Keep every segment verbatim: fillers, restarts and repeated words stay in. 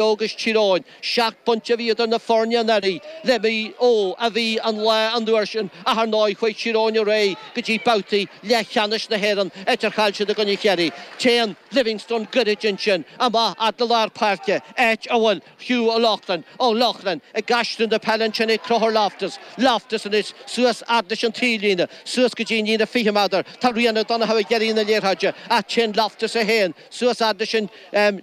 Agus Tír Eoghain, seacht bpointe a bhí idir na foirne anuraidh le Maigh Eo a bhí an lá an uair sin ach ar ndóigh chuaigh Tír Eoghain ar aghaidh go dtí babhtaí leathcheannais na hÉireann, áit ar chaill siad i gcoinne Chiarraí. Téann Livingstone gairid ansin amach fhad le lár páirce, áit a bhfuil Hugh O'Loughlin, O'Loughlin ag aistriú na peile ansin ag Conchúr Loftus, Loftus anois suas fhad leis an taobhlíne, suas go dtí an líne fiche méadar. Tá Rian O'Donoghue ag iarraidh na liathróide ach téann Loftus é féin suas fhad leis an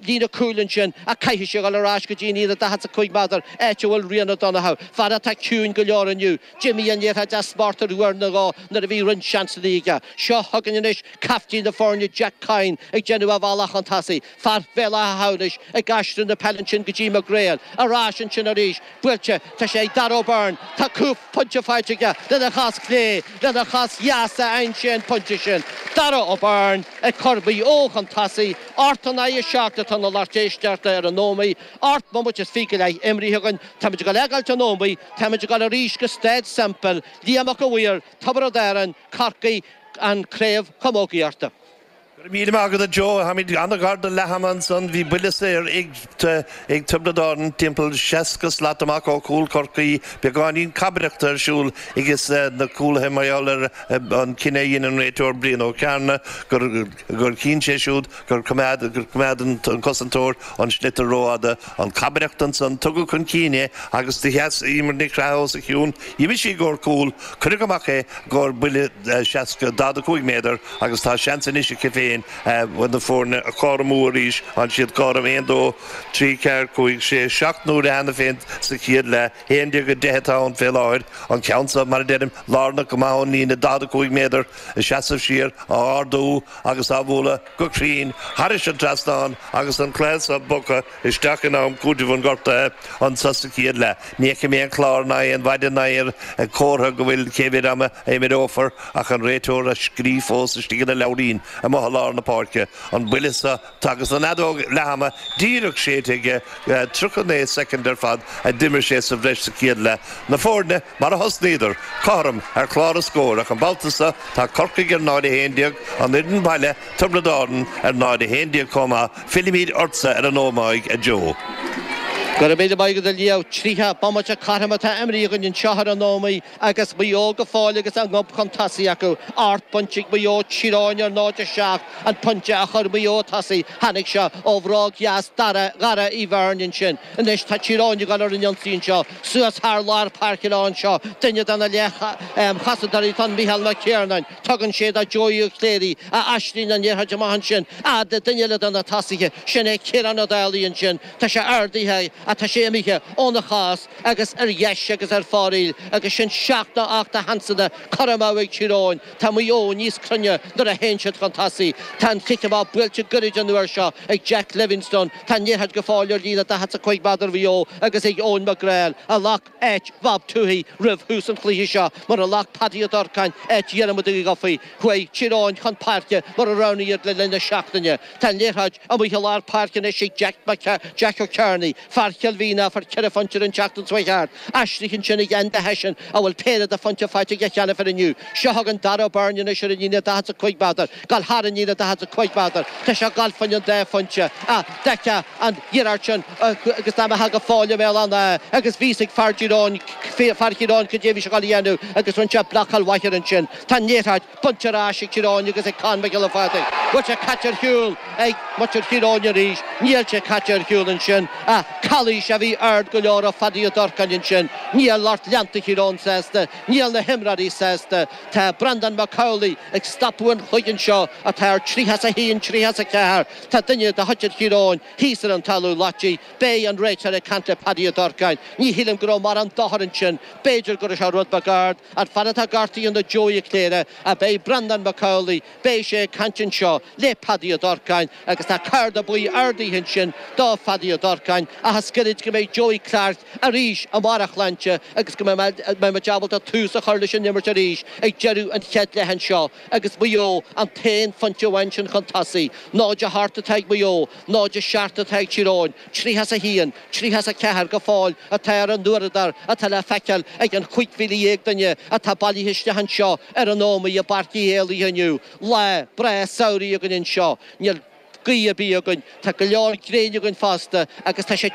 líne cúil ansin ach caithfidh sé a dhul ar ais go dtí an líne daichead is a cúig méadar, áit a bhfuil Rian O'Donoghue, fear atá ciúin go leor inniu. D'imigh an liathróid as smacht ar uair nó dhó nuair a bhí roinnt seansanna aige. Seo chugainn anois caiftín na foirne Jack Coyne ag déanamh a bhealach chun tosaigh. Fear Bhéal Átha hAmhnais ag aistriú na peile ansin go dtí McGrail. Ar ais ansin arís. Buailte. Tá sé ag Darragh O'Byrne. Tá cúpla pointe faighte aige lena chos chlé, lena chos dheas a fhaigheann sé an pointe sin. Darragh O'Byrne ag cur Mhaigh Eo chun tosaigh. Ocht in aghaidh a seacht atá na lucht éisteachta ar an Ómaigh. Ocht mbomaite is fiche go leith imrithe againn. Táimid ag dul a fhágáilt an Ómaigh. Táimid ag dul arís go Staid Semple. Liam Mac a' Mhaoir, Tiobraid Árann, Corcaigh, an Chraobh Chamógaíochta. Go raibh míle maith agat a Joe. Táimid an-ghar do leath ama ansan. Bhí buille saor ag ag Tiobraid Árann timpeall seasca slat amach ó chúl Chorcaí. Beagáinín cabaireachta ar siúl ages na cúlaithe mar gheall ar an cinneadh a dhein an réiteoir Brian Ó Cearna gur gur chinn sé siúd gur choimeád gur choimeád an cosantóir an sliotar rófhada. An cabaireacht ansan tugadh chun cinn é agus do sheas Emer Nic Craith os a chionn. D'imigh sí i gcomhair cúl. Cuireadh amach é i gcomhair buille seasca daichead a cúig méadar agus tá seans anois aici féin na foirne a chothromú arís. Tá siad cothrom aon, dó, trí, ceathair, cúig, sé, seacht n-uaire cheana féin sa chéad leath. Haon déag a deich atá ann fé láthair. An ceann seo, mar a deirim, lárnach go maith ón líne daichead a cúig méadar, ag seasamh siar, á ardú agus á bhualadh go cruinn thairis an trasnán agus an cluiche seo bogtha isteach in am cúitimh an ghortaithe anso sa chéad leath. Ní fheicim aon chlár ná aon mhaide ná aon chomhartha go bhfuil cé mhéad ama a imreofar ach an réiteoir ag scríobh fós istigh ina leabhairín amuigh i lár na páirce. An buille seo agus an fheadóg leath-ama díreach séidte aige, tríocha naoi soicind ar fad a d'imir sé sa bhreis sa chéad leath. Na foirne mar a thosnaíodar, cothrom ar chlár an scóir ach an babhta seo tá Corcaigh ar náid a haon déag, an fhoireann baile, Tiobraid Árann, ar náid a haon déag chomh maith. Fillimid ortsa ar an Ómaigh, a Joe. Go raibh míle maith agat a Liam. Tríocha bomaite cothrom atá imrithe againn anseo ar an Ómaigh agus Maigh Eo go fóill agus a ngob chun tosaigh acu. Ocht bpointe ag Maigh Eo, Tír Eoghain ar náid a seacht. An pointe a chuir Maigh Eo tosaigh, tháinig sé ó bhróg dheas Dara Dhara Uí Bheirn ansin. Anois tá Tír Eoghain ag dul ar an ionsaí anseo, suas thar lár páirce leo anseo. Duine de na leath-chosantóirí atá ann, Micheál Mac Ciarnáin. Tugann sé do Joey Ó Cléirigh, a aistríonn an liathróid amach ansin fhad le duine eile de na tosaithe, sin é Ciarán Ó Dálaigh ansin. Tá sé ardaithe ach tá sé imithe óna chos agus ar dheis agus ar fóraoil agus sin seacht nó ocht de sheansanna curtha amú ag Tír Eoghain. Tá Maigh Eo níos cruinne nuair a théann siad chun tosaigh. Tá an cic amach buailte gairid an uair seo ag Jack Livingstone. Tá an liathróid go fóill ar líne daichead is a cúig méadar Mhaigh Eo agus ag Eoin McGrail a ghlac áit Bhob Tuohy roimh thús an chluiche seo mar a ghlac Paddy Ó Durcáin áit Dhiarmuid Uí Dhufaigh. Chuaigh Tír Eoghain chun páirce mar a roghnaigh iad le linn na seachtaine. Tá an liathróid amuigh i lár páirce anois ag Jack Jack Ó Cearnaigh, fear Chill Mhíona, a fuair ceithre phointe an tseachtain seo thart. Aistrithe ansin ag Enda Hession, a bhfuil péire de phointe faighte aige cheana féin inniu. Seo chugainn Darragh O'Byrne anois ar an líne daichead is a cúig méadar. Gabháil thar an líne daichead is a cúig méadar. Tá sé ag gabháil fá choinne an dá phointe. Ach d'fheicfeá an iarracht sin agus dá mbeifeá go fóill i mbéal an átha agus bhí a fhios ag fear Thír Eoghain, fear Thír Eoghain cad é a bhí sé ag gabháil a dhéanamh agus rinne sé blocáil mhaith air ansin. Tá an liathróid bainte ar ais ag Tír Eoghain agus ag Con Mac Giolla Phádraig. Bhfuil sé caite ar shiúl ag muintir Thír Eoghain arís? Níl sé caite ar shiúl ansin ach calaois a bhí ard go leor ó Phadaí Ó Durcáin ansin. Níl lucht leanta Thír Eoghain sásta, níl na himreoirí sásta. Tá Breandán Mac Amhlaigh ag stopadh an chloig anseo atá ar tríocha is a haon, tríocha is a ceathair. Tá duine de mhuintir Thír Eoghain thíos ar an talamh loite. Beidh an réiteoir ag caint le Paddy Ó Durcáin. Ní shílim go raibh mórán dochair ansin. B'fhéidir go raibh sé rud beag ard. An fear atá gortaithe ná Joey Ó Cléire ach beidh Breandán Mac Amhlaigh, beidh sé ag caint anseo le Paddy Ó Durcáin agus tá cárta buí ardaithe ansin do Phaddy Ó Durcáin ach is gairid go mbeidh Joey Clarke arís i mbarr a shláinte agus go mbeidh muid ábalta tús a chur leis an imirt arís ag deireadh an chéad leath anseo agus Maigh Eo an t-aon phointe amháin sin chun tosaigh. Náid a hocht atá ag Maigh Eo, náid a seacht atá ag Tír Eoghain, tríocha is a haon, tríocha is a ceathair go fóill atá ar an uaireadóir atá le feiceáil ag an chúig mhíle dhéag duine atá bailithe isteach anseo ar an Ómaigh i bPáirc Uí Éalaithe inniu. Lá breá samhraidh againn anseo. Níl Gaoth ar bith againn, tá go leor gréine againn fosta agus tá sé